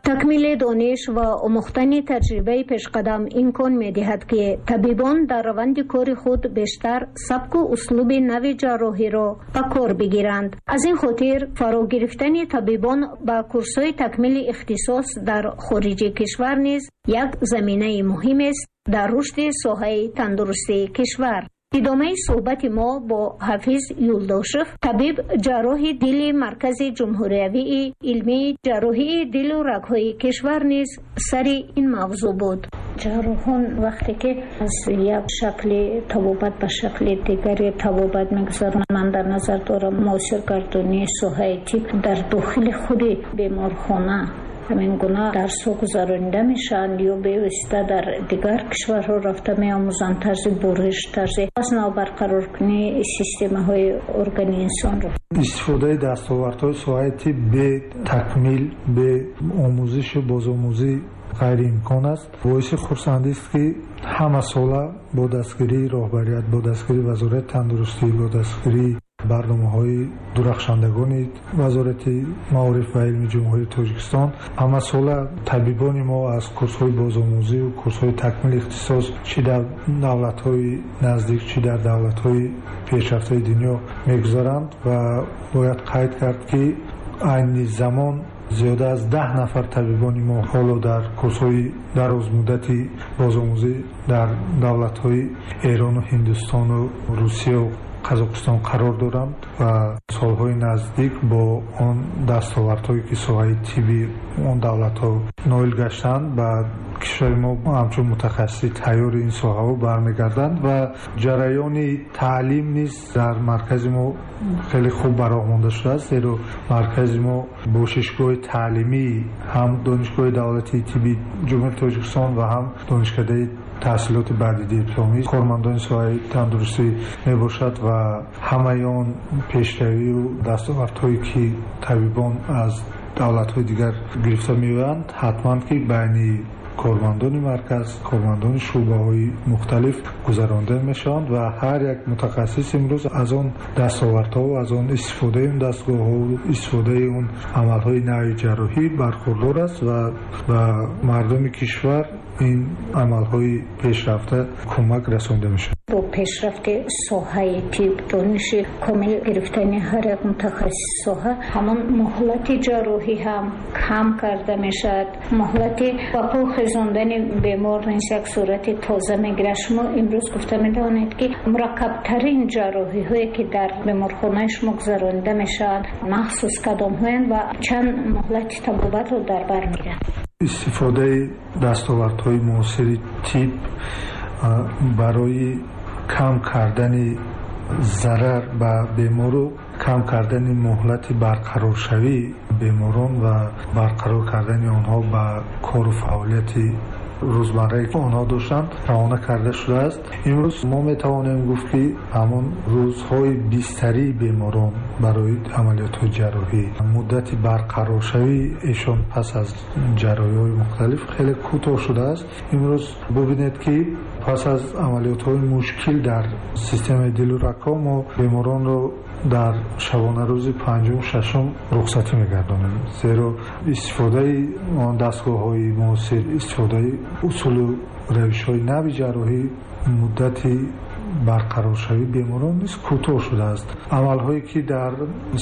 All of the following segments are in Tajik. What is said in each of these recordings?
Такмили дониш ва омӯхтани таҷрибаи пешқадам имкон медиҳад, ки табибон дар раванди кори худ бештар сабку услуби нави ҷарроҳиро ба кор бигиранд. Аз ин хотир фаро гирифтани табибон ба курсҳои такмили ихтисос дар хориҷи кишвар низ як заминаи муҳимест дар рушди соҳаи тандурустии кишвар. Идомаи суҳбати мо бо Ҳафиз Юлдошев, табиб ҷарроҳи дили Маркази ҷумҳуриявии илмии ҷарроҳии дилу рагҳои кишвар низ сари ин мавзӯъ буд. Ҷарроҳон вақте ки аз як шакли табобат ба шакли дигари табобат мегузаронанд, ман дар назар дорам муосир гардонии соҳаи тиб дар дохили худи беморхона ҳамин гуна дарсҳо гузаронида мешаванд ё бевосита дар дигар кишварҳо рафта меомӯзанд тарзи буриш, тарзи аз нав барқароркунии системаҳои органи инсонро? Истифодаи дастовардҳои соҳаи тиб бе такмил, бе омӯзишу бозомӯзӣ ғайриимкон аст. Боиси хурсандист, ки ҳамасола бо дастгирии роҳбарият, бо дастгирии Вазорати тандурустӣ, бо дастгирии барномаҳои дурахшандагони Вазорати маориф ва илми Ҷумҳурии Тоҷикистон ҳамасола табибони мо аз курсҳои бозомӯзию курсҳои такмили ихтисос чӣ дар давлатҳои наздик, чӣ дар давлатҳои пешрафтаи дунё мегузаранд. Ва бояд қайд кард, ки айни замон зиёда аз 10 нафар табибони мо ҳоло дар курсҳои дарозмуддати бозомӯзӣ дар давлатҳои Эрону Ҳиндустону Русияу Қазоқистон қарор доранд ва солҳои наздик бо он дастовардҳое, ки соҳаи тибби он давлатҳо ноил гаштанд, ба кишвари мо ҳамчун мутахассиси тайёри ин соҳаҳо бармегарданд. Ва ҷараёни таълим низ дар маркази мо хеле хуб ба роҳ монда шудааст, зеро маркази мо бошишгоҳи таълимии ҳам Донишгоҳи давлатии тибби Ҷумҳурии Тоҷикистон ва ҳам Донишкадаи таҳсилоти баъди дипломӣ кормандони соҳаи тандурустӣ мебошад ва ҳамаи он пешравию дастовардҳое, ки табибон аз давлатҳои дигар гирифта меоянд, ҳатман ки байни кормандони марказ, кормандони шӯъбаҳои мухталиф гузаронда мешаванд ва ҳар як мутахассис имрӯз аз он дастовардҳо, аз он истифодаи он дастгоҳҳо, истифодаи он амалҳои нави ҷарроҳӣ бархурдор аст ва ба мардуми кишвар ин амалҳои пешрафта кӯмак расонда мешавад. Бо пешрафти соҳаи тиб, дониши комил гирифтани ҳар як мутахассиси соҳа, ҳамон муҳлати ҷарроҳӣ ҳам кам карда мешавад, муҳлати ба по хезондани бемор низ як сурати тоза мегирад. Шумо имрӯз гуфта метавонед, ки мураккабтарин ҷарроҳиҳое, ки дар беморхонаи шумо гузаронида мешаванд, махсус кадомҳоянд ва чанд муҳлати табобатро дар бар мегиранд? Истифодаи дастовардҳои муосири тиб барои кам кардани зарар ба бемору кам кардани муҳлати барқароршавии беморон ва барқарор кардани онҳо ба кору фаъолияти рӯзмаррае, ки онҳо доштанд, равона карда шудааст. Имрӯз мо метавонем гуфт, ки ҳамон рӯзҳои бистарии беморон барои амалиётҳои ҷарроҳӣ, муддати барқароршавии эшон пас аз ҷарроҳиҳои мухталиф хеле кӯтоҳ шудааст. Имрӯз бубинед, ки пас аз амалиётҳои мушкил дар системаи дилу рагҳо мо беморонро дар шабонарӯзи панҷум, шашум рухсатӣ мегардонем, зеро истифодаи он дастгоҳҳои муосир, истифодаи усулу равишҳои нави ҷарроҳӣ муддати барқароршавии беморон низ кӯтоҳ шудааст. Амалҳое, ки дар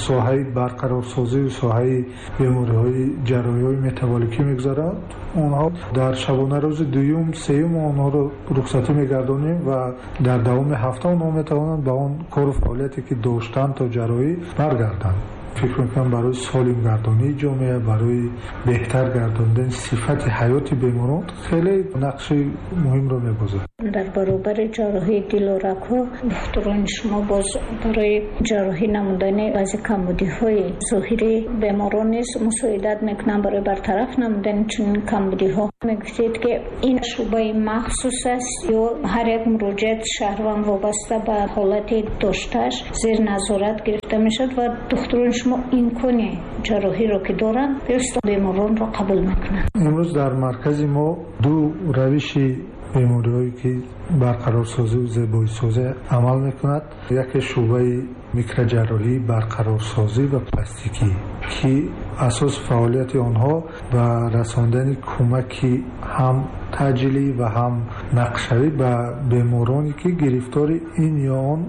соҳаи барқарорсозию соҳаи бемориҳои ҷарроҳиҳои метаболикӣ мегузаранд, онҳо дар шабонарӯзи дуюм, сеюм онҳоро рухсатӣ мегардонем ва дар давоми ҳафта онҳо метавонанд ба он кору фаъолияте, ки доштанд то ҷарроҳӣ, баргарданд. Фикр мекунам, барои солим гардонии ҷомеа, барои беҳтар гардондани сифати ҳаёти беморон хеле нақши муҳимро мебозад. Дар баробари ҷарроҳии дилу рагҳо духтурони шумо боз барои ҷарроҳӣ намудани баъзе камбудиҳои зоҳирии беморон низ мусоидат мекунанд барои бартараф намудани чунин камбудиҳо. Мегуфтед, ки ин шӯъбаи махсус аст ё ҳар як муроҷиати шаҳрванд вобаста ба ҳолати доштааш зери назорат гирифта мешавад ва духтурони шумо имкони ҷарроҳиро ки доранд, бевосита беморонро қабул мекунанд? Имрӯз дар маркази мо ду равиши бемориҳое, ки барқарорсозию зебоисозӣ амал мекунад. Яке шӯъбаи микроҷарроҳӣ, барқарорсозӣ ва пластикӣ. ки асоси фаъолияти онҳо ба расондани кӯмаки ҳам таъҷилӣ ва ҳам нақшавӣ ба бемороне ки гирифтори ин ё он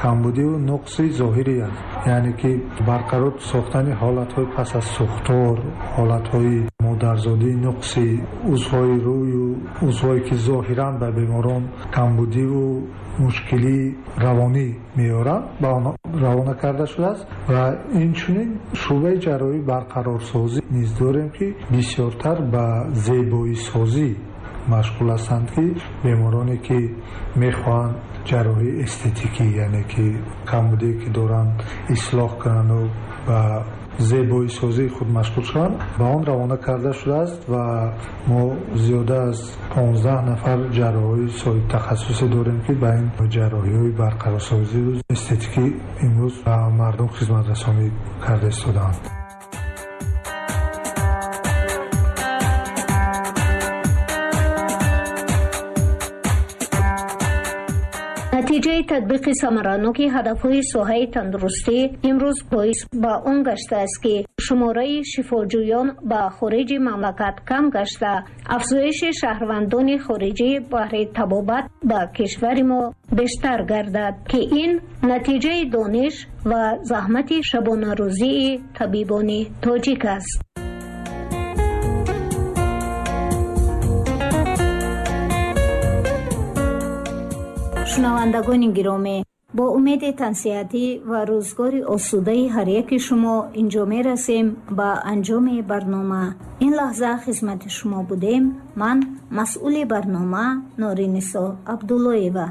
камбудиву нуқси зоҳирӣ аст, яъне ки барқарор сохтани ҳолатҳои пас аз сӯхтор, ҳолатҳои модарзодии нуқси узвҳои рӯю узвҳое ки зоҳиран ба беморон камбудиву мушкилии равонӣ меоранд, ба онҳо равона карда шудааст. Ва инчунин шӯъбаи ҷарроҳии барқарорсозӣ низ дорем, ки бисёртар ба зебоисозӣ машғул ҳастанд, ки бемороне ки мехоҳанд ҷарроҳии эстетикӣ, яъне ки камбудие ки доранд ислоҳ кунанду ба зебоисозии худ машғул шаванд, ба он равона карда шудааст. Ва мо зиёда аз 15 нафар ҷарроҳҳои соҳибтахассусе дорем, ки ба ин ҷарроҳиҳои барқарорсозию эстетикӣ имрӯз ба мардум хизматрасонӣ карда истодаанд. Натиҷаи татбиқи самараноки ҳадафҳои соҳаи тандурустӣ имрӯз боис ба он гаштааст, ки шумораи шифоҷӯён ба хориҷи мамлакат кам гашта, афзоиши шаҳрвандони хориҷӣ баҳри табобат ба кишвари мо бештар гардад, ки ин натиҷаи дониш ва заҳмати шабонарӯзии табибони тоҷик аст. Шунавандагони гиромӣ, бо умеди тансиҳатӣ ва рӯзгори осудаи ҳар яки шумо инҷо мерасем ба анҷоми барнома. Ин лаҳза хизмати шумо будем. Ман масъули барнома Норинисо Абдуллоева.